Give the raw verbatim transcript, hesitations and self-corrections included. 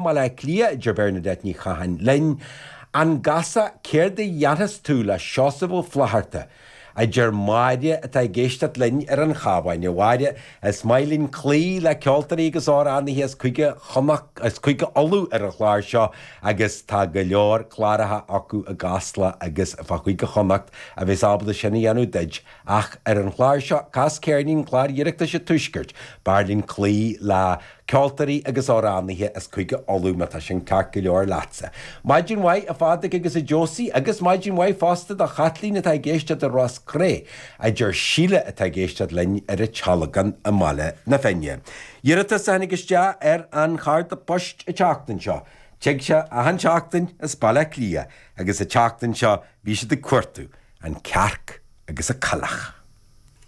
mBaile Átha Cliath, a deir Bernadette Ní Chatháin linn. An gCasach, céard a dhéanfas tú le Seosamh Ó Flatharta? a deir Máire atá ag éisteacht linn ar an Chabhán. A Mháire, is maith linn cloí le ceoltóirí agus amhránaithe as Cúige Chonnacht, as Cúige Uladh ar an chlár seo agus tá go leor cláraithe acu i gCasla agus fá Chúige Chonnacht a bheas ábalta sin a dhéanamh duit. Ach ar an chlár seo, Cas Ceirnín, clár Oireachtais an Tuaiscirt, b'fhearr linn cloí le ceoltóirí agus amhránaithe as Cúige Uladh má tá sin ceart go leor leatsa. Maidin mhaith a Phádraig agus a Josie agus maidin mhaith fosta do Chaitlín atá ag éisteacht i Ros Cré, a deir Síle atá ag éisteacht linn ar an Tealgán i mBaile na Finne. Iarratas a tháinig isteach ar an chárta poist an tseachtain seo. Tig sé achan seachtain as Baile Átha Cliath agus an tseachtain seo bhí siad ag cuartú an cearc agus an coileach.